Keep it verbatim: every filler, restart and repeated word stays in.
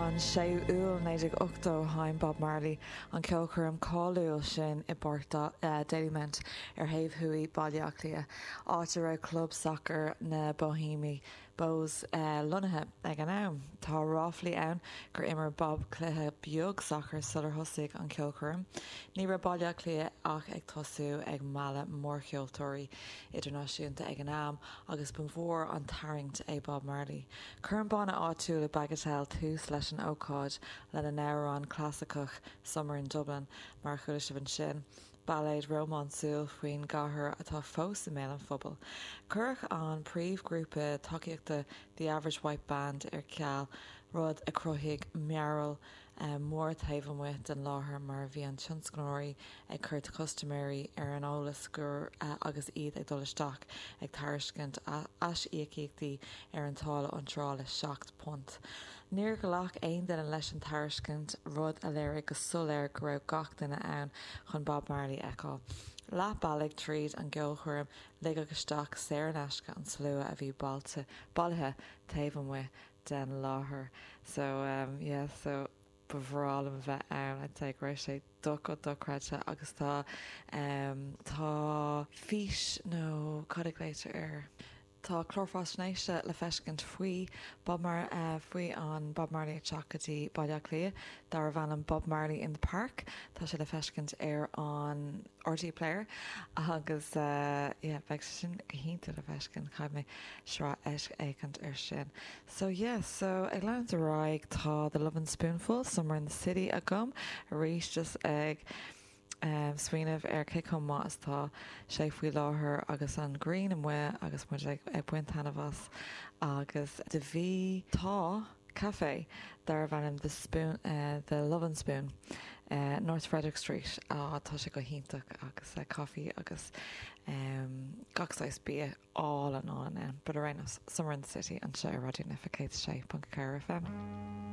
An séú Iúil naoi déag ochtó sheinn Bob Marley an ceolchoirm cáiliúil sin i bPáirc Dalymount ar thaobh thuaidh Baile Átha Cliath, áit a raibh club sacair na Bohemians Bohs lonnaithe ag an am. Tá ráflaí ann gur imir Bob cluiche beag sacair sular thosaigh an ceolchoirm. Ní raibh Baile Átha Cliath ach ag tosú ag mealladh mórcheoltóirí idirnáisiúnta ag an am agus ba mhór an tarraingt é Bob Marley. Chuir an banna áitiúil Bagatelle tús leis an ócáid lena n-amhrán clasaiceach Summer in Dublin mar a chuala sibh ansin. Bailéad rómánsúil faoin gcathair atá fós i mbéal an phobail. Cuireadh an príomhghrúpa tacaíochta The Average White Band ar ceal rud a chruthaigh mearbhall mór taobh amuigh den láthair mar a bhí an tionscnóirí ag cur custaiméirí ar an eolas gur agus iad ag dul isteach ag tairiscint aisíocaíochtaí ar an táille iontrála seacht punt. Níor ghlac aon duine leis an tairiscint rud a léirigh go soiléir go raibh gach duine ann chun Bob Marley a fheiceáil. Leath bealaigh tríd an gceolchoirm ligeadh isteach saor in aisce an slua a bhí bailte bailithe taobh amuigh den láthair. So um, yeah, so ba bhreá liom bheith ann I'd say go raibh sé dochreidte agus tá um, tá fís nó cad a ghlaoitear air. Tá clár faisnéise le feiscint faoi Bob Mar uh, faoi an Bob Marley teacht go dtí Baile Átha Cliath darb ainm Bob Marley in the Park Tá sé le feiscint ar an RTÉ Player agus uh, yeah, beidh sin go hiontach le feiscint caithfidh mé sraith éicint ar sin. So yeah, so ag leanúint ar aghaidh tá the Lovin' Spoonful Summer in the City agam arís just ag um, smaoineamh ar cé chomh maith is tá sé faoi láthair agus an ghrian amuigh agus muid ag, ag baint taitneamh as agus de bhí tá café darb ainm the spoon uh, the Lovin' Spoon uh, North Frederick Street á tá sé go hiontach agus uh, coffee agus um, gach saghas bia álainn ann, but ar aon nós Summer in the City anseo Raidió na Life céad sé ponc ceathair FM.